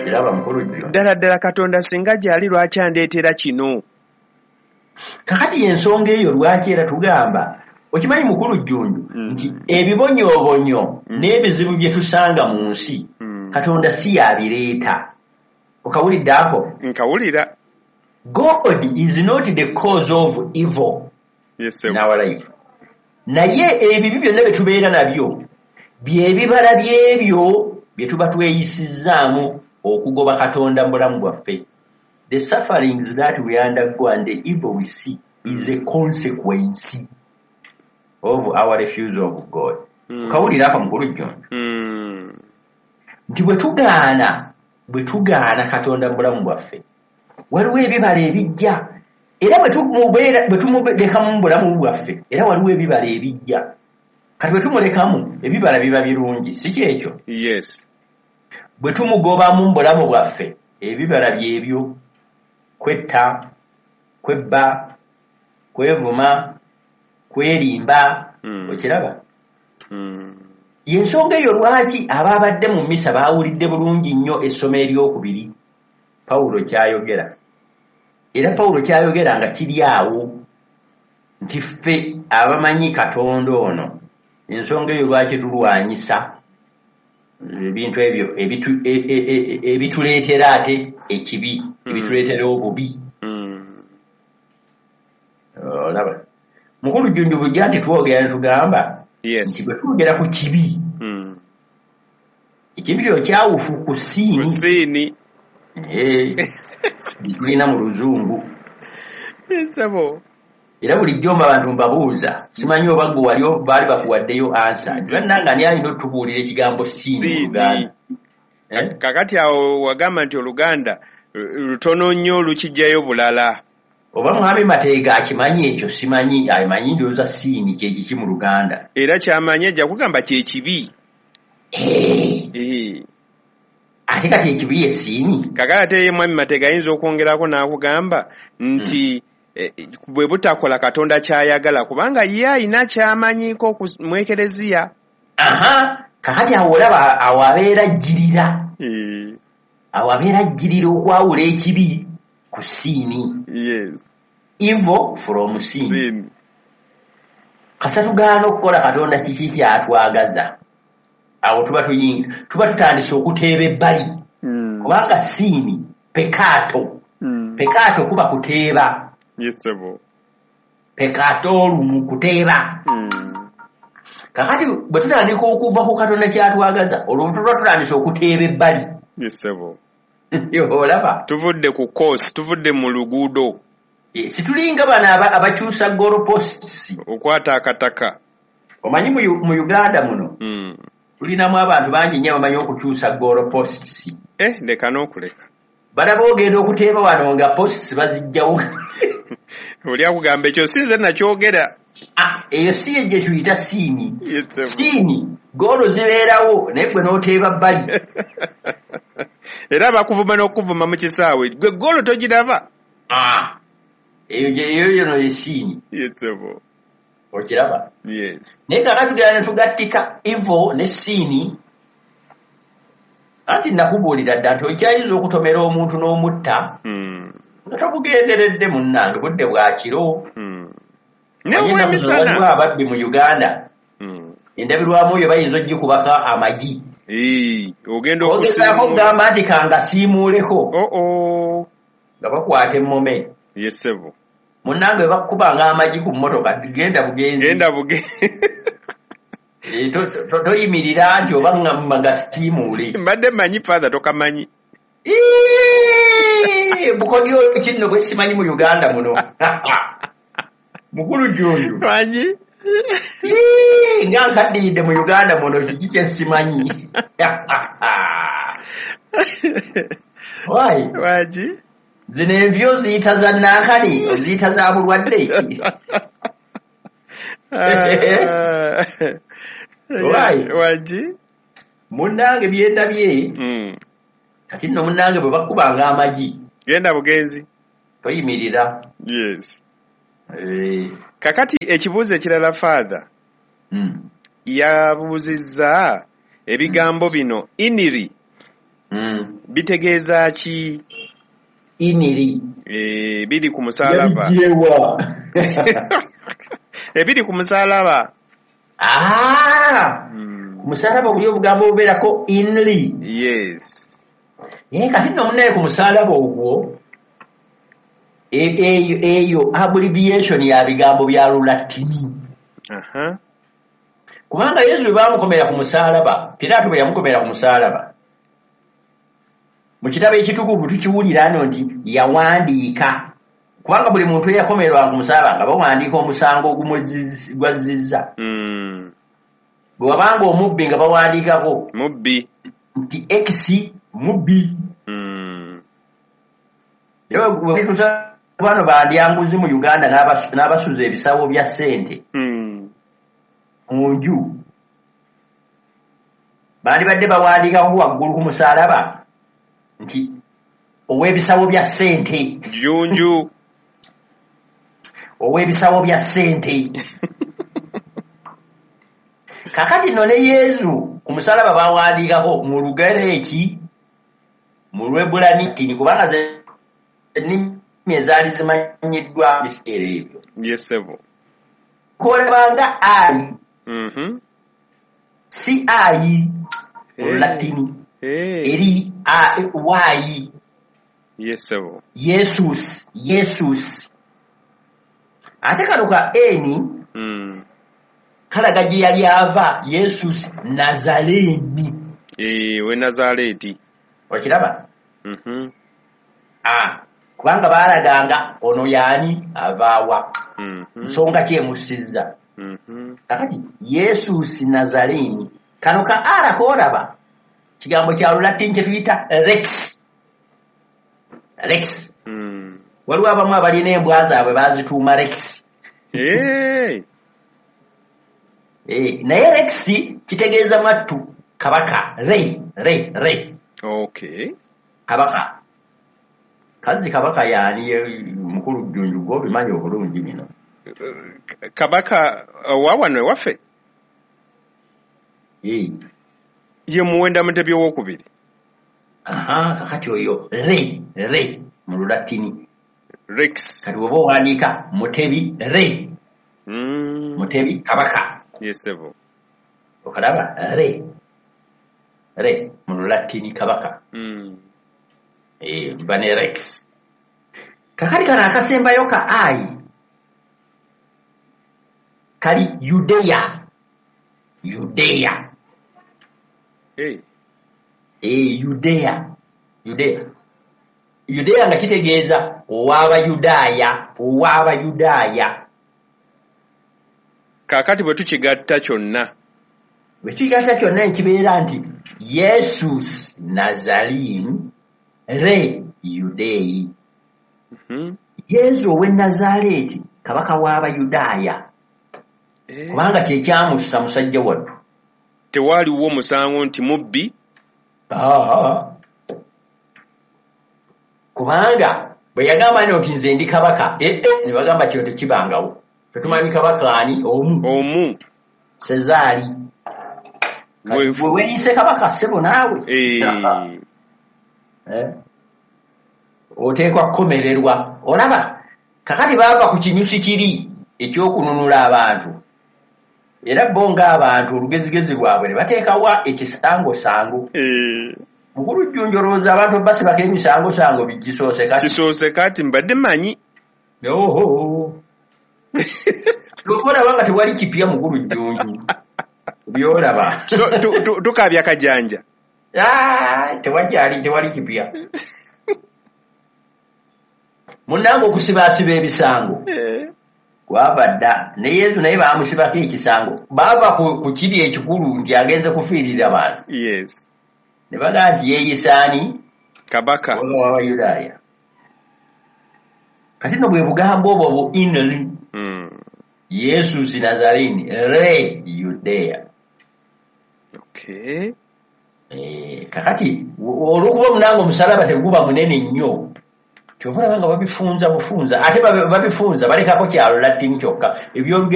Okiraba, mukulu Jjo? Ddala ddala, Katonda singa gyali, lwaki andeetera kino? Kakati ensonga eyo lwaki era tugamba, okimanyi, mukulu Jjunju, nti ebibonyoobonyo n'ebizibu bye tusanga mu nsi, Katonda si yabireeta. Okawulidde ako? Nkawulira. God is not the cause of evil Yes. in our life, naye ebibi byonna bye tubeera nabyo byebibala byebyo bye tuba tweyisizzaamu okugoba Katonda mu bulamu bwaffe. The sufferings that we undergo and the evil we see is a consequence of our refusal of God. Kawulira ako, mukulu Jjondo? Mm. Nti bwe tugaana Katonda mu bulamu bwaffe, waliwo ebibala ebijja, era bwe tumulekamu mu bulamu bwaffe, era waliwo ebibala ebijja. Kati bwe tumulekamu, ebibala biba birungi, si kyekyo? Yes. Bwe tumugobamu mu bulamu bwaffe, ebibala byebyo: kwetta, kwebba, kwevuma, kwerimba. Okiraba? Mm. Yensonga eyo lwaki abaabadde mu misa baawulidde bulungi nnyo essomo eryokubiri, Pawulo kyayogera. Era Pawulo kyayogera nga kiri awo nti ffe abamanyi Katonda ono, ensonga eyo lwaki tulwanyisa ebintu ebyo ebituleetera ate ekibi, ebituleetera obubi. Olaba, mukulu Jjunju, bujja nti twogera ne tugamba nti bwe twogera ku kibi, ekintu kyo kyawufu ku sin. Ku sin. Tulina mu Luzungu. Nsabo. Era bulijjo mba abantu mbabuuza, simanyi oba gwe wali baali bakuwaddeyo answer, nti bannange, ani alina otubuulira ekigambo sin mu Sin. Luganda? Eh? Kakati awo wagamba nti Oluganda lutono nnyo, lukijjayo bulala. Oba mwami Mateega akimanyi ekyo, simanyi amanyi. Ndowooza sin kyekiki mu Luganda? Era kyamanyi, ajja kugamba kyekibi. Eh, ate kati ekibi ye sin? Kakati ate ye mwami Mateega ayinza okwongerako n'akugamba nti bwe butakola Katonda kyayagala, kubanga ye ayina kyamanyiiko mu Ekereziya. Aha, kakati awo olaba, awo abeera ajjirira, awo abeera ajjirira okwawula ekibi ku sin. Evil from sin. Sin. Kasa tugaana okukola Katonda kiki kyatwagaza, awo tuba tutandise okuteeba ebbali, kubanga sin, peccato, peccato kuba kuteeba. Yes, sebo. Peccato olumu kuteeba. Kakati bwe tutandika okuva ku Katonda kyatwagaza, olwo tuba tutandise okuteeba ebbali. Yes, sebo. Olaba? Tuvudde ku course, tuvudde mu luguudo. Eh, situlinga bano abakyusa goalposts. Okwata akataka. Omanyi mu Uganda muno tulinamu abantu bangi nnyo abamanyi okukyusa goalposts. Eh, leka n'okuleka. Balaba ogenda okuteeba wano nga posts bazijjawo. Oli akugamba, ekyo si nze nakyogera. Ah, eyo si ye gye tuyita sin. Yes, sebo. Sin, goolo zibeerawo, naye gwe n'oteeba bbali. Era bakuvuma n'okuvuma mu kisaawe, gwe goolo togiraba. Ah, eyo yono ye sin. Yes, sebo. Okiraba? Yes. Naye kaka tugenda ne tugattika evil ne sin. Anti nakubuulira dda nti okyayinza okutomera omuntu n'omutta nga tokugenderedde. Munnange, budde bwa kiro. Ne Omanyi ennaku zino obwemisana. waliwo ababbi mu Uganda, endabirwamu oyo bayinza ogikubako amagi. Ee, ogenda ogezaako okusiimuula. okugamba nti kangasiimuuleko, Oo. nga bakwata emmome. Yes, sebo. Munnange, bwe bakukubanga amagi ku mmotoka, genda bugenzi. Genda buge. Eh, toyimirira nti oba ŋŋamba ngasiimuule. Mbadde mmanyi, Father, tokamanyi. Ii, bukodyo kinno bwe simanyi mu Uganda muno, mukulu Jjunju. Manyi. Ii, nga nkaddiyidde mu Uganda muno, kiki kye simanyi? Why? Lwaki? Zino envi oziyita za nankani, oziyita za bulwadde? Ah. Why? Waki? Munnange, byendabye kati nno, munnange, bwe bakubanga amagi, genda bugenzi. Toyimirira. Yes. Eh, Kakati ekibuuzo ekirala, Father, yabuuzizza ebigambo bino iniri. Bitegeeza ki? Iniri. Biri ku musalaba. Yabiggyewa? Ebiri ku musalaba. Ah! Ku musalaba buli obugambo obubeerako inri. Yes. Naye kati nno munnaye ku musalaba ogwo eyo abbreviation ya bigambo bya Lulatini. Kubanga Yesu bwe baamukomera ku musalaba, Piraato bwe yamukomera ku musalaba, mu kitabo ekitukuvu tukiwulira nno nti yawandiika, kubanga buli muntu eyakomerwa ku musalaba nga bawandiika omusango ogumugwazizza. Bwe wabanga omubbi nga bawandiikako mubbi nti X mubbi. Era bwe tutuusa bano bandyanguzi mu Uganda n'abasuza ebisawo bya ssente mu nju, bandibadde bawandiikako waggulu ku musalaba nti ow'ebisawo bya ssente. Junju. Ow'ebisawo bya ssente. Kakati nno ne Yesu ku musalaba bawandiikako mu Lugereki, mu Lwebulanitini, kubanga ze nnimi ezaali zimanyiddwa biseera ebyo. Yes, sebo. Kolabanga I. Si I mu Latini. Eri A Y. Yes, sebo. Yesus, Yesus. Ate kano ka N kalaga gye yali ava, Yesus Nazareni. We Nazareti. Okiraba? Kubanga baalaganga ono yaani avaawa. Nsonga ki emusizza? Kakati Yesus Nazareni. Kano ka R koolaba kigambo kya Lulatini kye tuyita Rex. Rex. Waliwo abamu abalina embwa zaabwe baazituuma Rex. Naye Rex kitegeeza mwattu kabaka. Re, re, re. Okay. Kabaka. Kazi kabaka yaani mukulu Jjunju gw'obimanyi obulungi bino. Kabaka wa wano ewaffe? Ye Muwenda Mutebi owookubiri. Kakati oyo re, re mu Lulatini. Rex. Kati bw'oba owandiika Mutebi re. Mutebi kabaka. Yes, sebo. Okalaba re. Re mu Lulatini kabaka. Bane Rex. Kakati kano akasembayo ka I kali Yudea. Yudea. Yudea. Yudea. Yudea nga kitegeeza ow'Abayudaaya, ow'Abayudaaya. Kaakati bwe tukigatta kyonna. Bwe tukigatta kyonna ekibeera nti Yesus Nazarene re Yudei. Yesu ow'e Nazareeti kabaka w'Abayudaaya. Kubanga kye kyamussa musajja wattu. Tewaaliwo musango nti mubbi. Kubanga bwe yagamba nti nze ndi kabaka, ne bagamba kino tekibangawo. Tetumanyi kabaka ani omu. Omu. Sezaali. Bwe weeyise kabaka ssebo naawe. Oteekwa kukomererwa. Olaba kakati baava ku kinyusi kiri ekyokununula abantu. Era bo ng'abantu olugezigezi lwabwe ne bateekawa ekisangosango. Mukulu Jjunju olowooza abantu basibako emisangosango bigisoose kati. Kisoose kati mbadde mmanyi. Oho. Olaba nga tewali kipya mukulu Jjunju. By'olaba. So, tukaabya kajanja. Tewakyali, tewali kipya. Munnange okusibaasiba ebisango. Kwava dda. Ne Yesu naye baamusibako ekisango. Baava ku kiri ekikulu nti agenze kufiirira bantu. Yes. Ne bagamba nti yeeyisa ani? Kabaka. W'Abayudaaya. Kati nno bwe bugambo obwo bu inri. Yesus Nazarene re Yudea. Okay. Kakati olw'okuba munange omusalaba teguba munene nnyo, kyova olaba nga babifunza bufunza, ate babifunza balekako kya Lulatini kyokka. Eby'Olugero